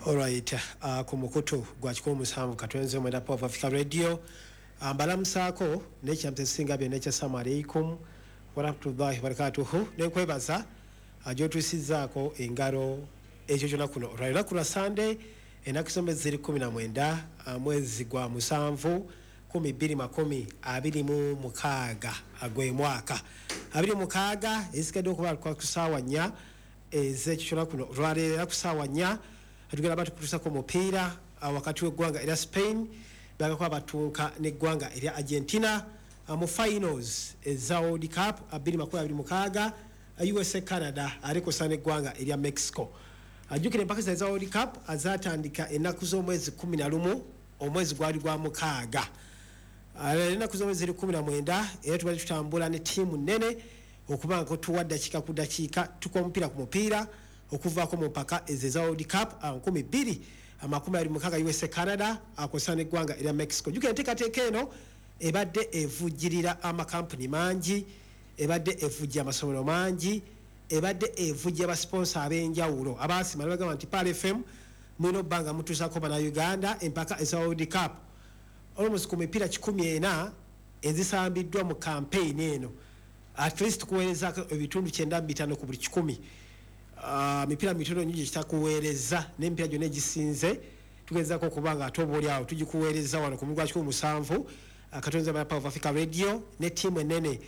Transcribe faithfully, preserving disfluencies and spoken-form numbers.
Alright, uh, ku mukutu gwa kikumi musanvu katwenze mwenda Power of Africa Radio, uh, mbalamusaako n'ekyamta ekisinga byonna ekya assalamu alaikum warahmatullahi wabarakatuhu, nenkwebaza uh, gyotuusizzaako engalo ekyo kyonna kuno olwa lunaku lwa Sande, ennaku z'omwezi ziri kumi na mwenda, uh, mwezi gwa musanvu, kumi bbiri makumi abiri mu mukaaga, gwe mwaka abiri mukaaga. Ezisigadde okuba ku ssaawa nnya ez'ekyo kyonna kuno olwaleero, era ku ssaawa nnya tugenda batukutusako omupiira uh, wakati w'eggwanga erya Spain bagako abatunka n'eggwanga erya Argentina uh, mu finals eza World Cup twenty twenty-six. uh, U S A, Canada alikosa n'eggwanga erya Mexico. Ajjukira empaka zino eza World Cup azatandika ennaku z'omwezi kumi na lumu, omwezi gwali gwa mukaaga. Ennaku z'omwezi ziri kumi na mwenda, era tubadde tutambula ne ttiimu nnene okuba nga tuwa ddakiika ku ddakiika, tukuba omupiira ku mupiira okuvaako mu mpaka ezo eza World Cup twenty twenty-six, U S A, Canada akosa n'eggwanga erya Mexico. Jjukira enteekateeka eno ebadde evujjirira amakampuni mangi, ebadde evujja amasomero mangi, ebadde evujja abasponsa ab'enjawulo abaasima ne bagamba nti Pearl F M mulina obba nga mutuusako Bannayuganda empaka eza World Cup. Almost ku mipiira kikumi ena ezisambiddwa mu campaign eno, at least kuweerezako ebitundu kyenda mu bitaano ku buli kikumi. Ah, mipiira mitono nnyo gyekitakuweereza, n'emipiira gyonna egisinze tugezako okuba nga ate oba oli awo tugikuweereza wano ku mugwa kikumi musanvu akatonza Power of Africa Radio ne ttiimu enene.